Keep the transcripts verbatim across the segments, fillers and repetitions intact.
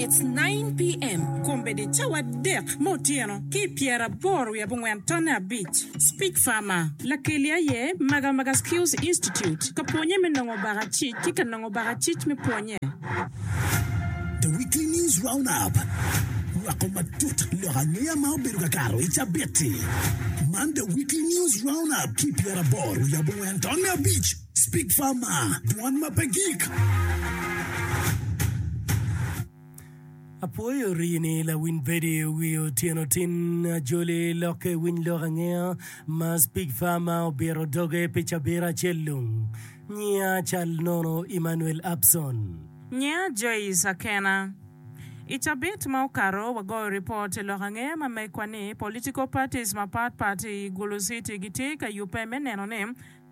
It's nine P M Kombeddi cawa adek me otyeno ki i pyeraboro wiye abongwen tonne abic. Speak Farmer lakeli aye Magamaga Skills Institute ka pwonye me nongo bakacic ki ka nongo bakacic me pwonye. The Weekly News Roundup, Nywako matut lok angeya ma obedo ka kato i cabit-ti. Man The Weekly News Roundup ki pyeraboro wiye abongwen tonne abic. Speak Farmer, dwan ma pe gik. Apwoyo rini lawiny bedi wi otyeno tin ajoli lokke winy lok angeya ma Speak Farmer obito doge pi cabit acel lung. Nyinga cal nono Emmanuel Abson. Nyinga Joyce Akena. I cabit ma okato, wagoyo ripot i lok angeya ma megwa ni political parties mapat pat i Gulu City gitye ka yubbe me neno ni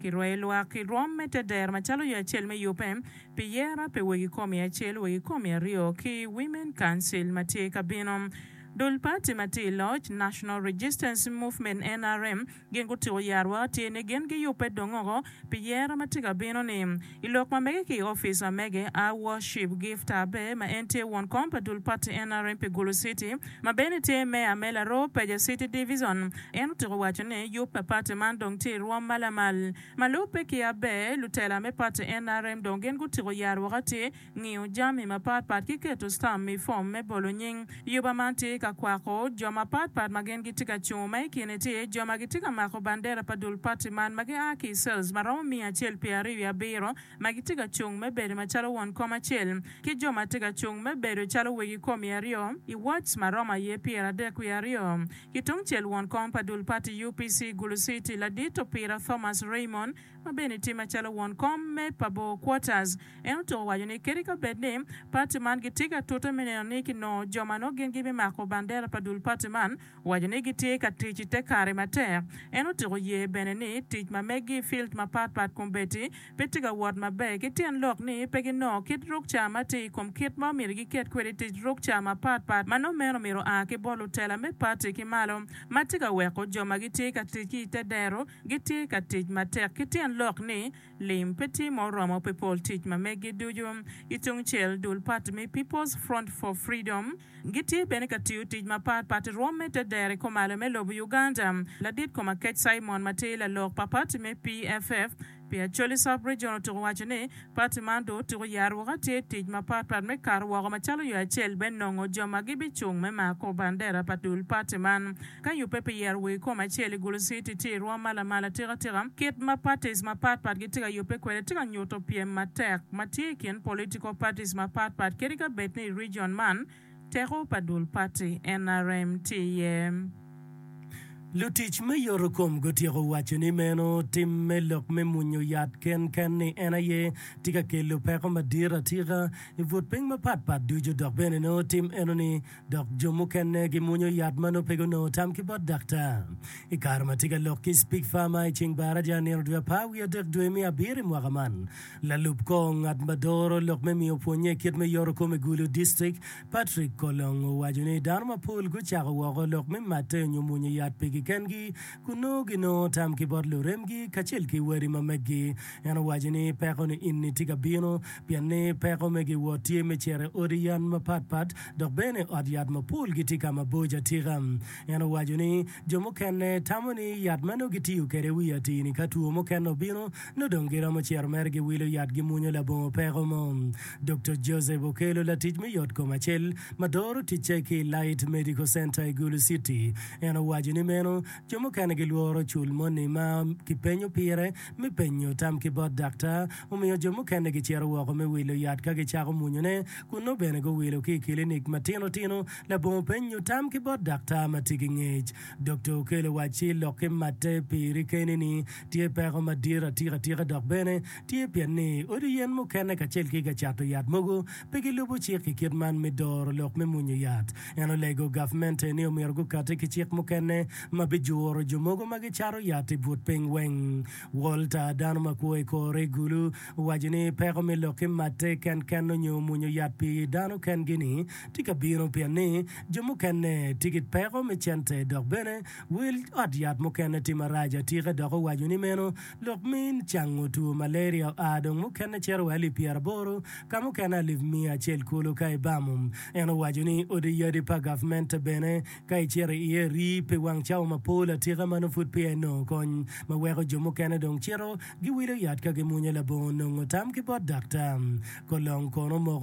kirweyo lwak i rwom me teder macalo yo acel me yubbe pi yera pi wegi komi acel, wegi komi aryo ki Women Council ma tye ka bino. Dul pati ma tye i loc, National Registance Movement, N R M, gin gutiko yarwa tye ni gin giyubbe dong oko pi yera ma tye ka bino ni. I lok ma mege ki i opic ma mege, Our Worship Gift Abe ma en tye won kom pa dul pati N R M pi Gulu City ma bene tye meya me Laroo Peja City Division, en otiko waco ni yub pa pati man dong tye i rwom ma lamal. Ma lubbe ki Abe, lutela me pati N R M dong gin gutiko yarwok atir ngiyo jami mapat pat ki keto stamp i fom me bolo nying. Yuba man tye ka kwako jo mapat pat ma gin gitye ka cungo ma i kine tye jo ma gitye ka mako bandera pa dul pati man ma gia ki i cells ma romo miya acel pyera aryo wiye abiro ma gitye ka cung me bedo macalo won kom acel ki jo ma tye ka cung me bedo calo wegi komi aryo i wards ma romo aye pyera adek wiye aryo. Ki tungcel won kom pa dul pati U P C Gulu City ladit Opira Thomas Raymond ma bene tye macalo won kom me Pabo Quarters en otuko waco ni kadi ka bed ni pati man gitye ka tute me neno ni kinongo jo ma nongo gin gibimako bandera pa dul pati man waco ni gitye ka tic i te kare matek. En otuko ye bene ni tic ma megi i field mapat pat kombeddi pe tye ka wot maber ki tyen lok ni pe ginongo kit rukca ma tye i kom kit ma omyero giket kwede tic rukca mapat pat ma nongo meno myero oa ki bot lutela me pati ki malo ma tye ka weko jo ma gitye ka tic ki i te dero gitye ka tic matek ki tyen lok ni lim pe tye ma oromo pi pol tic ma megi ducu. Ki tungcel dul pati me People's Front for Freedom gitye bene ka tiyo tic mapat pat i rwom me te dero i kumalo me lobo Uganda. Ladit kom Akec Simon ma tye lalok pa pati me P F F pi Acholi Sub-Region otuko waco ni pati man dong otuko yarwok tye tic mapat pat me kato woko macalo yo acel me nongo jo ma gibicung me mako bandera pa dul pati man ka yubbe pi yero wegi kom acel i Gulu City tye i rwom ma lamal atika kit ma parties mapat pat gitye ka yubbe kwede tye ka nyuto pyem matek ma tye i kin political parties mapat pat kadi ka bed ni i region man teko pa dul pati N R M tye iye. Lutic me yoto kom gutyeko waco ni meno tim me lok me munyo yat ken ken ni en aye tye ka kelo peko madit atika i but piny mapat pat ducu dok bene nongo tim eno ni dok jo mukene gimunyo yat ma nongo pe gunongo tam ki bot daktar. I kare ma tye ka lok ki Speak Farmer i ceng baraja nino dwe apar wiye adek dwe me abiro i mwaka man, lalub kor ngat ma doro lok me miyo pwonye kit me yoto kom i Gulu District Patrick Kolong owaco ni dano mapol gucako woko lok me matte nyo munyo yat pigi kengi kun nongo ginongo tam ki bot luremgi kacel ki wadi ma meggi. En owaco ni peko ni inni tye ka bino pien ni peko me giwot tye me cito i odi yen mapat pat dok bene ot yat mapol gitye ka maboco atika. En owaco ni jo mukene tamo ni yat ma nongo gitiyo kwede wi atini ka two mukene obino nongo dong giromo cito mere giwilo yat gimunyo labongo peko mo. Doctor Joseph Okelo latic me yot kom acel ma doro ticce ki i Light Medical Center i Gulu City en owaco ni meno jo mukene gilworo cul moni ma kipenyo pire me penyo tam ki bot daktar omiyo jo mukene gicito woko me wilo yat ka gicako munyone kun nongo bene guwilo ki i kilinik matino tino labongo penyo tam ki bot daktar ma tye ki ngec. Doctor Okelo wacci lok ki matte piri keni ni tye peko madit atika atika dok bene tye pien ni odi yen mukene kacel ki ka cato yat mogo pe gilubo cik i kit man me doro lok me munyo yat. En olego gavmente ni omyero gukati ki cik mukene ma ma bijuro jo mogo ma gicato yat i but piny weng. Walter, dano ma kwo i kore i Gulu, owaco ni peko me lok ki matte kenken onyo mwonyo yat pi dano kengi-ni tye ka bino pien ni jo mukene tye ki peko me cente dok bene wel ot yat mukene tye marac atika dok owaco ni meno lok me cango two malaria oa dong mukene cito wa alip pyeraboro ka mukene alip miya acel kulu ka ibamo. En owaco ni odi yadi pa gavmente bene ka icito iye rii pi wang cawa mapol atika ma nongo pud peya inongo kony ma weko jo mukene dong cito giwilo yat ka gimwonyo labongo nongo tam ki bot daktar. Kolong kono omoko.